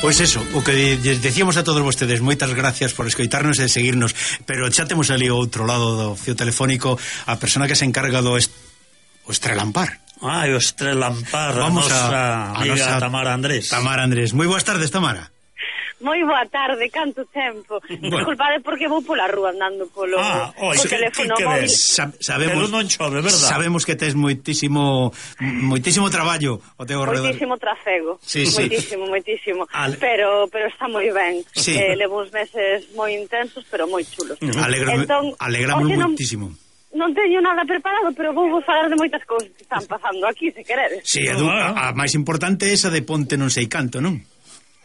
Pois eso, o que decíamos a todos vostedes, moitas gracias por escoitarnos e seguirnos, pero xa temos ali ao outro lado do fío telefónico a persona que se encarga do estrelampar. O estrelampar, Vamos a amiga Tamara Andrés. Tamara Andrés, moi boas tardes, Tamara. Moi boa tarde, canto tempo. Disculpade porque vou pola rúa andando polo teléfono móvil. Sabemos, pero non chove, verdad? Sabemos que tes moitísimo traballo o teu alrededor. Moitísimo trafego. Sí. Moitísimo. Pero está moi ben. Sí. Levo uns meses moi intensos, pero moi chulos. Alegramos moitísimo. Non teño nada preparado, pero vou falar de moitas cousas que están pasando aquí, se queredes. Sí, a máis importante é esa de Ponte non sei canto, non?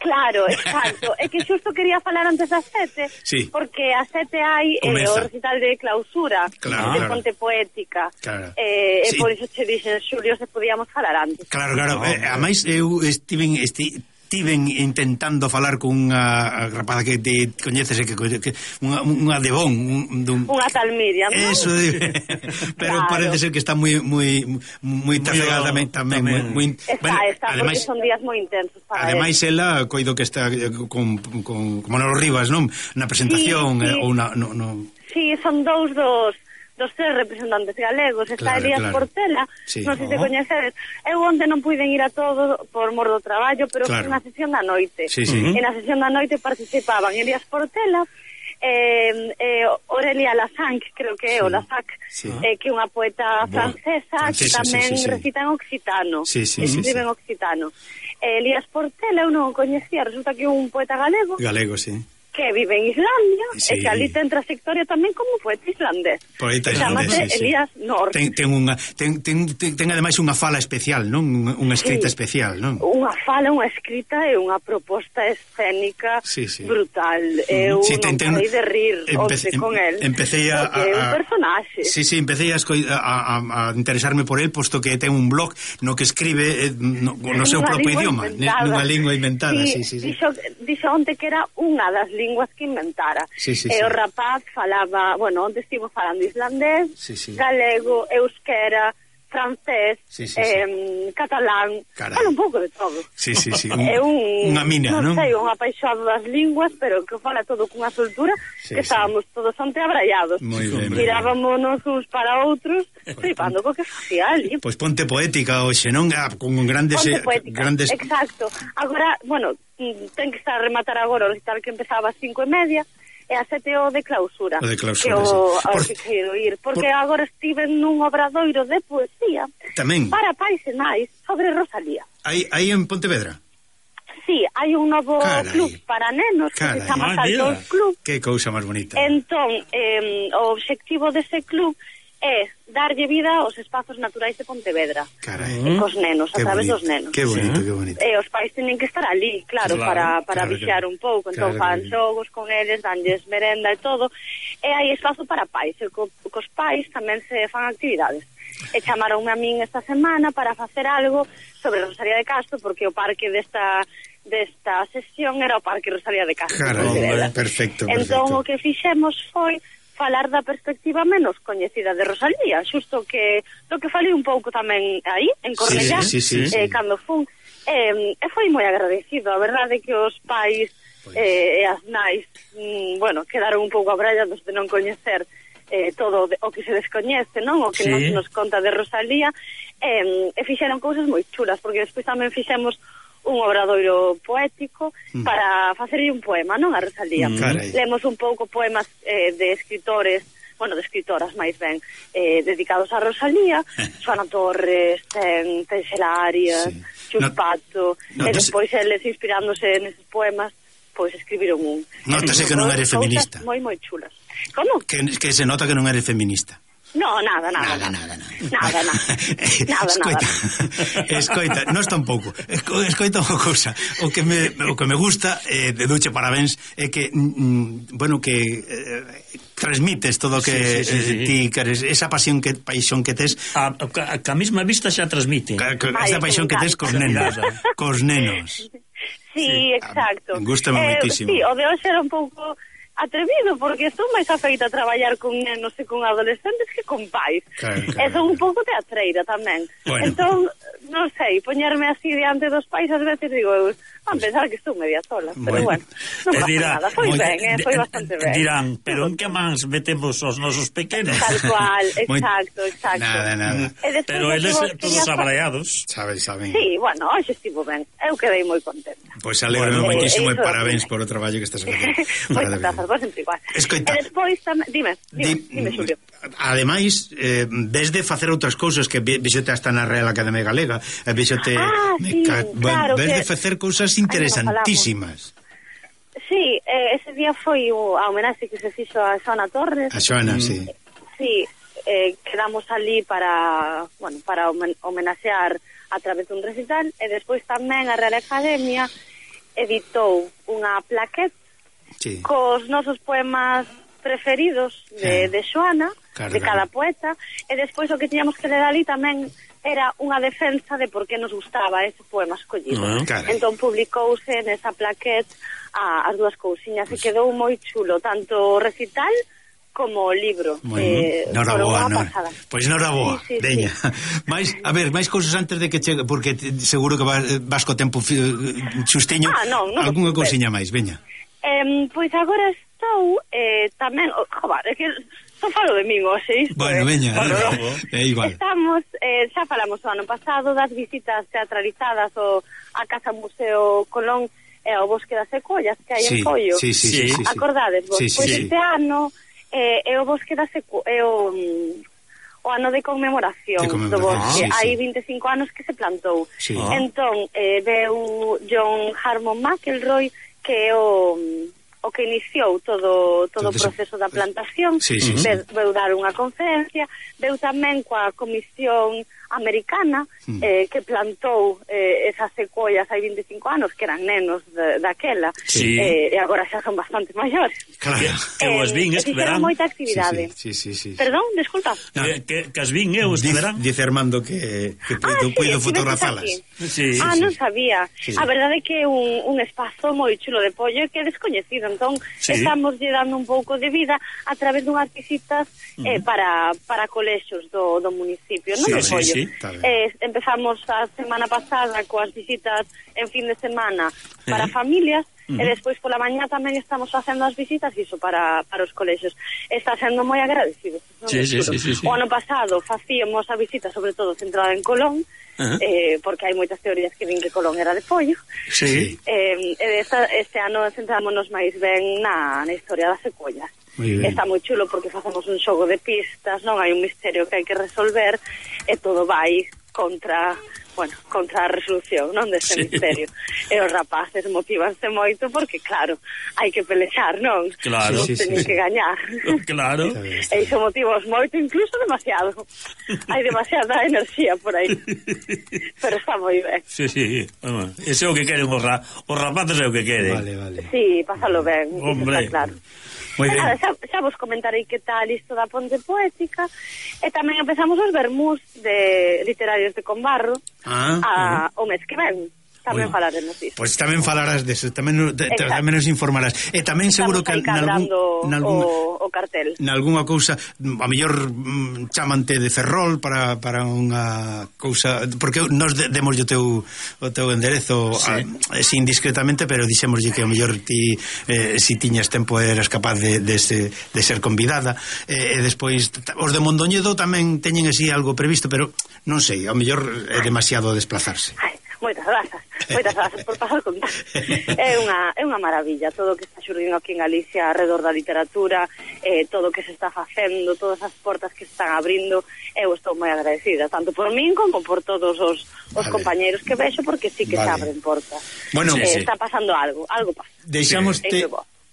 Claro, exacto. É que xusto quería falar antes das 7, sí. Porque a 7 hai o recital de clausura de Ponte Poética. Claro. Sí. Por iso che dixen, Xulio, se podíamos falar antes. Claro. A máis eu estiven intentando falar con unha rapaza que te coñeces que unha de Bon, unha tal Miriam, ¿no? Eso, pero claro. Parece ser que está moi trafegada tamén moi está, porque son días moi intensos para ademais ela coido que está con Manolo Rivas, non? Na presentación sí. Ou Sí, son dous dos tres representantes galegos. Está Elías Portela, non sei se coñecedes. Eu onde non puiden ir a todo por mor do traballo, pero foi na sesión da noite. E na sesión da noite participaban Elías Portela, Aurelia Lassanc, creo que é o Lassac, que é unha poeta francesa que tamén recita en occitano, escribe en occitano. Elías Portela eu non o coñecía, resulta que é un poeta galego, sí, que vive en Islandia, e que ali ten trayectoria tamén como poeta islandés. Poeta islandés, Elías North. Ten ademais unha fala especial, non? Unha escrita especial, non? Unha fala, unha escrita e unha proposta escénica brutal. Eu non parei de rir onde con el. Empecé é un personaxe. Sí, empecé a interesarme por el, posto que ten un blog no que escribe no seu propio idioma, nunha lingua inventada. Dixo onte que era unha das linguas que inventara. O rapaz falaba, onde estivo falando islandés, galego, euskera, francés, catalán, fala un pouco de todo. É unha mina, non? Non sei, un apaixonado das linguas, pero que fala todo cunha soltura que estábamos todos anteabraiados. Mirábamos uns para outros, flipando co que facía ali. Pois Ponte Poética hoxe, non? Con grandes... Exacto. Agora, ten que estar a rematar agora o recital que empezaba ás 5:30, e a 7 o de clausura. O de clausura, que quero ir, porque agora estive nun obradoiro de poesía tamén para pais e nais sobre Rosalía. Aí en Pontevedra? Sí, hai un novo club para nenos que se chama Saltos Club. Que cousa máis bonita. Entón, o obxectivo dese club é darlle vida aos espazos naturais de Pontevedra. E cos nenos, a través dos nenos. Que bonito. E os pais teñen que estar ali, claro, para vixiar un pouco. Entón fan xogos con eles, danlles merenda e todo. E hai espazo para pais. E cos pais tamén se fan actividades. E chamaronme a min esta semana para facer algo sobre Rosalía de Castro, porque o parque desta sesión era o Parque Rosalía de Castro. Perfecto. Entón o que fixemos foi falar da perspectiva menos coñecida de Rosalía, xusto que do que falei un pouco tamén aí, en Cornellá, cando fun, e foi moi agradecido. A verdade é que os pais e as nais, quedaron un pouco abrallados de non coñecer todo o que se descoñece, non? O que nos conta de Rosalía, e fixeron cousas moi chulas, porque despois tamén fixemos un obradoiro poético para facerlle un poema, non, a Rosalía. Lemos un pouco poemas de escritores, de escritoras máis ben, dedicados a Rosalía, Xoana Torres, ten Xela Arias, Xus Pato, e despois eles inspirándose neses poemas, pois escribiron un. Nótase que non eres feminista. Moi chulas. Como? Que se nota que non eres feminista. No, nada. Escoita, nós tampouco. Escoita unha cousa. O que me gusta de Duche Parabéns é que que transmites todo o que ti queres, esa paixón que tes a mesma vista xa transmite. Esa paixón que tes cos nenos. Sí, exacto. Gústame moitísimo. Sí, o de hoxe era un pouco atrevido, porque estou máis afeita a traballar con nenos e con adolescentes que con pais. E son un pouco teatreira tamén. Entón, non sei, poñerme así diante dos pais, ás veces digo, van pensar que estou media sola, pero bueno, non pasa nada, foi ben, foi bastante ben. Dirán, pero en que mans metemos os nosos pequenos? Tal cual, exacto. Nada. Pero eles todos abraiados. Saben. Sí, bueno, hoxe estivo ben, eu quedei moi contenta. Pois alegro moitísimo e parabéns por o traballo que estás facendo. Moitas grazas, vos sempre igual. Escoita. E despois tamén, dime, Xulio. Ademais, desde facer outras cousas que vexote hasta na Real Academia Galega, vexote claro, ves de facer cousas interesantísimas. Sí, ese día foi a homenaxe que se fixo a Xoana Torres. A Xoana, sí. Sí, quedamos ali para homenaxear a través dun recital, e despois tamén a Real Academia editou unha plaqueta cos nosos poemas preferidos de Xoana, de cada poeta, e despois o que tiñamos que ler ali tamén era unha defensa de por que nos gustaba ese poema escollido. Entón publicouse nesa plaqueta as dúas cousiñas e quedou moi chulo, tanto o recital como o libro. Noraboa. Pois noraboa, veña. máis cousas antes de que chegue, porque seguro que vas co tempo xustiño. Algunha cousiña máis, veña. Pois agora estou tamén, é que só falo de min hoxe isto. Bueno, veña, é igual. Estamos, xa falamos o ano pasado das visitas teatralizadas a Casa Museo Colón e ao Bosque das Secollas que hai en Follo. Sí. Acordades vos? Pois este ano é o Bosque das Secollas, o ano de conmemoración do bosque. Hai 25 anos que se plantou. Entón, veu John Harmon McElroy, que é o que iniciou todo o proceso da plantación. Veu dar unha conferencia, veu tamén coa Comisión Americana que plantou esas secuoias hai 25 anos, que eran nenos daquela, e agora xa son bastante maiores. Que os vin este verán. Moita actividade. Perdón, desculpa. Que as vin eu este verán. Dice Armando que puido fotografalas. Non sabía. A verdade é que é un espazo moi chulo de Pollo que é descoñecido, entón estamos lle dando un pouco de vida a través dunhas visitas para colexios do municipio, non? De Pollo. Empezamos a semana pasada coas visitas en fin de semana para familias, e despois pola mañá tamén estamos facendo as visitas iso para os colexios. Está sendo moi agradecido. O ano pasado facíamos a visita sobre todo centrada en Colón, porque hai moitas teorías que din que Colón era de Pollo. Este ano centrámonos máis ben na historia das secuoias. Está moi chulo porque facemos un xogo de pistas, non hai un misterio que hai que resolver e todo vai contra a resolución, non, deste misterio. E os rapaces motívanse moito porque, claro, hai que pelexar, non? Claro. Teñen que gañar. Claro. E iso motivos moito, incluso demasiado. Hai demasiada enerxía por aí. Pero está moi ben. Sí. Ese é o que queren os rapaces, é o que queren. Vale. Sí, pásalo ben. Hombre. Está claro. Xa vos comentarei que tal isto da Ponte Poética, e tamén empezamos os vermús de literarios de Combarro o mes que ven. Tamén falaremos disso. Pois tamén falarás deso, tamén nos informarás. E tamén seguro que o cartel. Nalgúnha cousa, a mellor chamante de Ferrol para unha cousa, porque nos demos o teu enderezo sin discretamente, pero dixémoslle que a mellor ti si tiñas tempo eras capaz de ser convidada, e despois os de Mondoñedo tamén teñen así algo previsto, pero non sei, a mellor é demasiado desplazarse. Moitas grazas por pasar contar. É unha maravilla todo o que está xurdindo aquí en Galicia alrededor da literatura, todo o que se está facendo, todas as portas que se están abrindo. Eu estou moi agradecida, tanto por min como por todos os compañeros que vexo, porque sí que se abren portas. Bueno, está pasando algo pasa.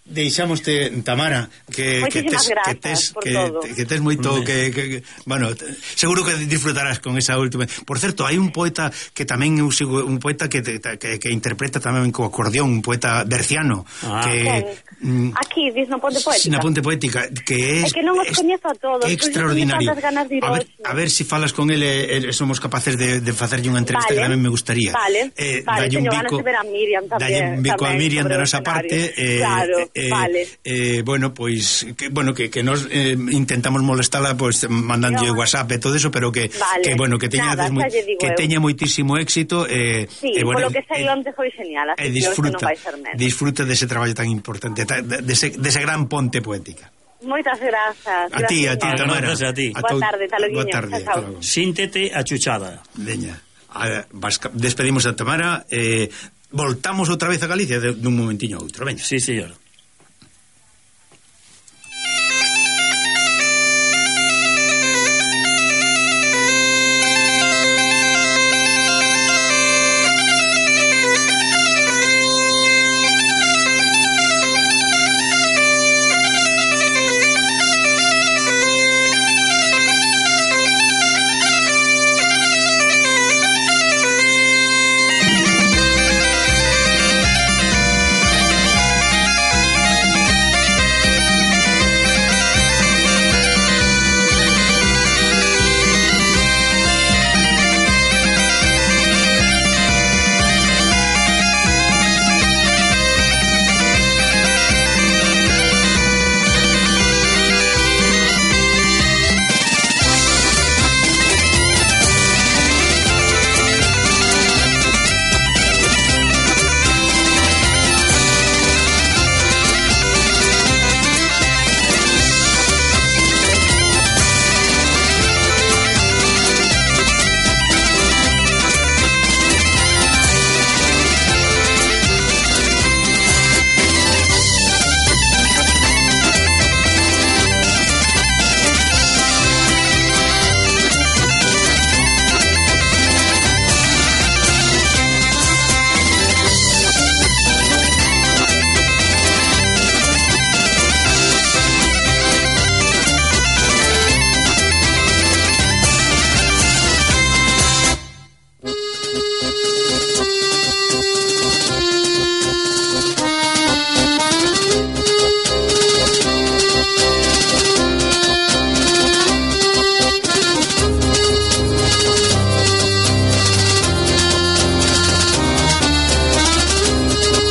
Deixámoste, Tamara, que tes moito bueno, seguro que disfrutarás con esa última. Por certo, hai un poeta que tamén eu sigo, un poeta que interpreta tamén co acordeón, un poeta berciano, aquí dis na Ponte Poética. Na Ponte Poética, que é que non os coñezo a todos, extraordinario. A ver si falas con ele, somos capaces de facerlle unha entrevista que tamén me gustaría. Vale, teño ganas de ver a Miriam tamén. Dalle un bico a Miriam da nosa parte, Vale. Bueno, pois que nos intentamos molestala pois mandando WhatsApp e todo eso, pero que bueno, que teña que teña moitísimo éxito bueno, polo que sei onte foi genial, así que non vai ser menos. Disfruta dese traballo tan importante, dese gran ponte poética. Moitas grazas. A ti, Tamara. Boa tarde, taloguiña. Boa tarde. Síntete a chuchada. Veña. Despedimos a Tamara, voltamos outra vez a Galicia dun momentiño a outro, veña. Sí, señor.